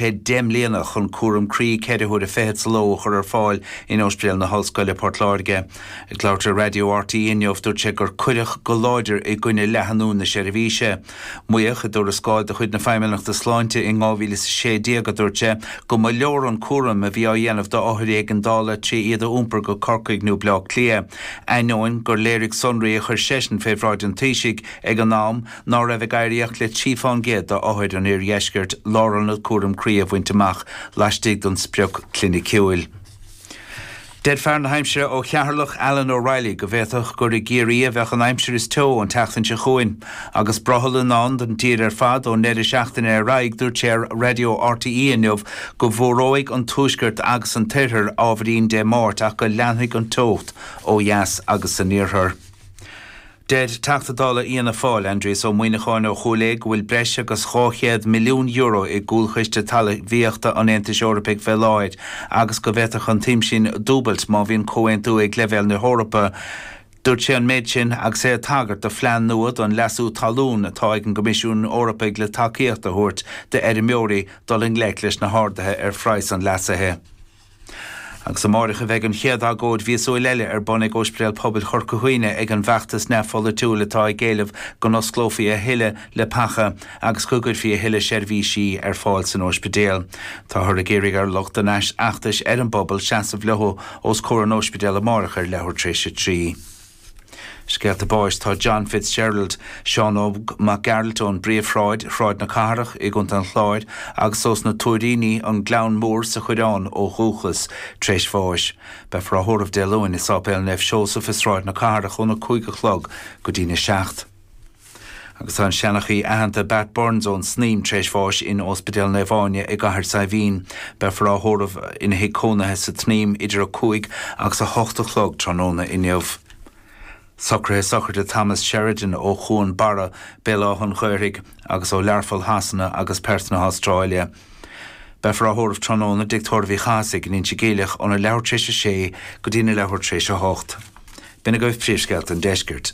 10 mbliana chun cúram croí 4 huaire fichead sa ló a chur ar fáil in Ospidéal na hOllscoile, Port Láirge. Ag labhairt ar Raidió RTÉ inniu, dúirt sé gur cuireadh go láidir i gcoinne leathanú na seirbhíse. Maíodh i dtuarascáil de chuid na Feidhmeannachta Sláinte in 2016, a dúirt sé, go mba leor an cúram a bhí á dhéanamh d'othair éigeandála tré iad a iompar go Corcaigh nó Bleá Cliath, ainneoin gur léirigh sonraí a chuir seisean fé bhráid an Taoisigh ag an am ná raibh ag éirí ach le 3 fán gcéad d'othair an Iardheiscirt lárionad cúraim croí a bhaint amach laistigh den sprioc cliniciúil. Deir fear na haimsire ó Cheatharlach, Alan O'Reilly, go bhféadfadh gur i gCiarraí a bheadh an aimsir is teo an tseachtain seo chugainn. Agus brothall i ndán don dtír ar fad ón ndeireadh seachtaine ar aghaidh, dúirt sé ar Raidió RTÉ inniu go bhfuaróidh an tuaisceart agus an t-oirthear ábhairín Dé Máirt ach go leanfaidh an teocht ó dheas agus san iarthar. Deir Teachta Dála Fhianna Fáil, Aindrias Ó Muimhneacháin ó Chúil Aodha go bhfuil breis agus €200 milliún i gcúlchiste talmhaíochta an Aontais Eorpaigh fé láthair agus go bhféadfadh an tsuim sin dúbailt má bhíonn comhaontú ag leibhéal na hEorpa. Dúirt sé an méid sin agus é ag tagairt do phlean nua don leasú talún atá ag an gCoimisiún Eorpaigh le tacaíocht a thabhairt d'fheirmeoirí dul i ngleic leis na harduithe ar phraghas an leasaithe. Agus amáireach a bheidh an chéad agóid mhíosúil eile ar bun ag Ospidéal Pobail Chorca Dhuibhne ag an bhfeachtas neamhpholaitiúil atá ag éileamh go n-osclófaí a thuilleadh leapacha agus go gcuirfí a thuilleadh seirbhísí ar fáil san ospidéal. Táthar ag iarraidh ar lucht an fheachtais ar an bpobal seasamh leo os comhair an ospidéil amáireach ar leathuair tar éis a 3. Scéalta báis Tá John Fitzgerald, Seán Óg Mac Gearailt ón bPríomhshráid, Sráid na Cathrach, i gContae an Chláir, agus ós na Tuairíní, An Gleann Mór sa Choireán ó dhúchas, tar éis bháis. Beifear á thórramh Dé Luain i Sáipéal Naomh Seosamh i Sráid na Cathrach óna 5 a chlog go dtína 7. Agus tá an seanchaí aitheanta Bat Burns ón Snaidhm tar éis bháis in Ospidéal Naomh Áine i gCathair Saidhbhín. Beifear á thórramh ina thigh cónaithe sa tSnaidhm idir 5 agus 8 a chlog tráthnóna inniu. Socruithe sochraide Thomas Sheridan ó Chuan Barra, Béal Átha an Ghaorthaidh, agus ó Learpholl Shasana agus Perth na hAstráile. Beifear á thórramh tráthnóna i dTigh Tórraimh Uí Chathasaigh in Inse Geimhleach óna leathuair tar éis a sé go dtína leathuair tar éis a hocht. B'in agaibh príomhscéalta an deiscirt.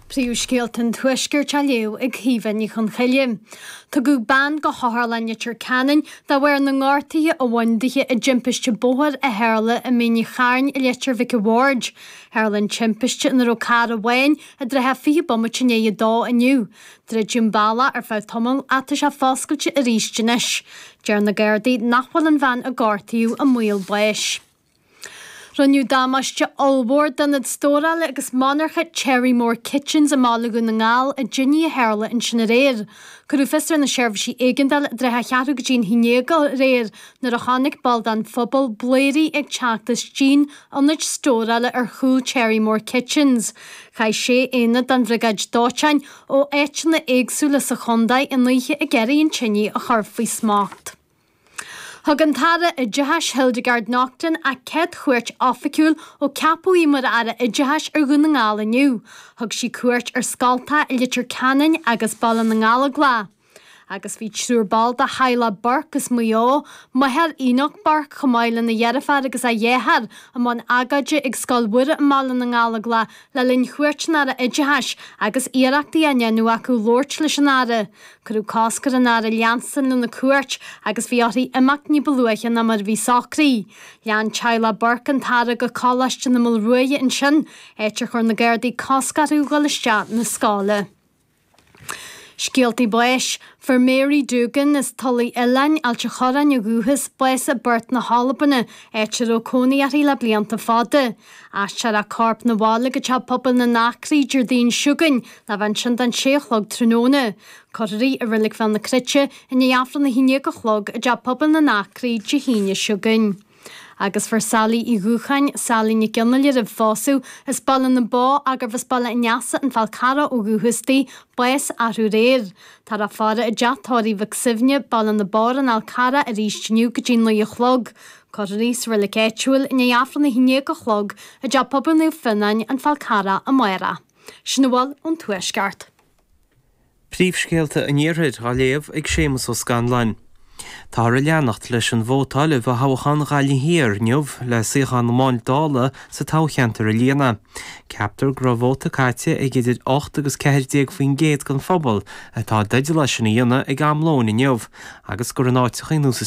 Príomhscéalta an Tuaiscirt á léamh ag Caoimhe Ní Chonchoille. Tugadh bean go hOtharlann Leitir Ceanainn de bharr na ngortuithe a bhain dithe i dtimpiste bóthair a tharla i Mín an Chairn i Leitir Mhic a' Bhaird. Tharla an timpiste ina raibh carr amháin i dtrátha 20 bomaite i ndiaidh a dó inniu. Druideadh an bealach ar feadh tamaill ach tá sé foscailte arís anois. Deir na Gardaí nach bhfuil an bhean a gortaíodh i mbaol báis. Rinneadh damáiste ollmhór d'ionad stórála agus monarcha Cherrymore Kitchens i mBaile Dhún na nGall i dtine a tharla ansin aréir. Cuireadh fios ar na seirbhísí éigeandála i dtrátha cheathrú go dtí an haon déag aréir nuair a chonaic ball den phobal blairí ag teacht as díon ionaid stórála ar chúl Cherrymore Kitchens. Chaith sé aonad den bhriogáid dóiteáin ó áiteanna éagsúla sa chontae an oíche ag iarraidh an tine a chur faoi smacht. Thug an tAire Oideachais Hildegarde Naughton a céad chuairt oifigiúil ó ceapadh í mar Aire Oideachais ar Dhún na nGall inniu. Thug sí cuairt ar scoltacha i Leitir Ceanainn agus Baile na nGallóglach. Agus bhí triúr ball de theaghlach Burke as Maigh Eo, máthair Enoch Burke chomh maith lena dheirfiúr agus a dheartháir, i mbun agóide ag Scoil Mhuire i mBaile na nGallóglach le linn chuairt an Aire Oideachais agus iarrachtaí á ndéanamh acu labhairt leis an Aire. Cuireadh cosc ar an Aire leanstan lena cuairt agus bhí uirthi imeacht ní ba luaithe ná mar a bhí socraithe. Lean teaghlach Burke an tAire go Coláiste na Maoilruaidhe ansin, áit ar chuir na Gardaí cosc orthu dhul isteach na scoile. Scéaltaí báis. Fuair Mary Doogan as Tulaigh Oileáin, Ailt a' Chorráin ó dhúchas, bás i bPort na hAlban, áit a raibh cónaí uirthi le blianta fada. Aistreofar a corp 'na bhaile go Teach Pobail na nAcraí Déardaoin seo chugainn le bheith ansin don sé a chlog tráthnóna. Cuirfear í i Reilig Bhéal na Cruite i ndiaidh Aifreann a haon déag a chlog i dTeach Pobail na nAcraí Dé hAoine seo chugainn. Agus fuair Sally Uí Dhúcháin, Sally Nic Fhionnghaile roimh phósadh, as Baile na Bó gurbh as Baile an Easa, An Fál Carrach ó dhúchas di, bás arú aréir. Táthar á faire i dTeach Tórraimh Mhic Suibhne, Baile na Bó ar an Fhál Carrach arís inniu go dtí 9 a chlog. Cuirfear í sa reilig áitiúil i ndiaidh Aifreann a haon déag a chlog i dTeach Pobail Naomh Fionnáin, An Fál Carrach amárach. Sin a bhfuil ón Tuaisceart. Príomhscéalta an Iarthair á léamh ag Séamus Ó Scanláin. Táthar ag leanacht leis an vótáil i bhfothoghchán Ghaillimh Thiar inniu le suíochán amháin Dála sa toghcheantar a líonadh. Ceaptar go raibh vóta caite ag idir 8 agus 14% den phobal atá i dteideal é sin a dhéanamh ag am lóin inniu agus gur in áiteacha ar nós.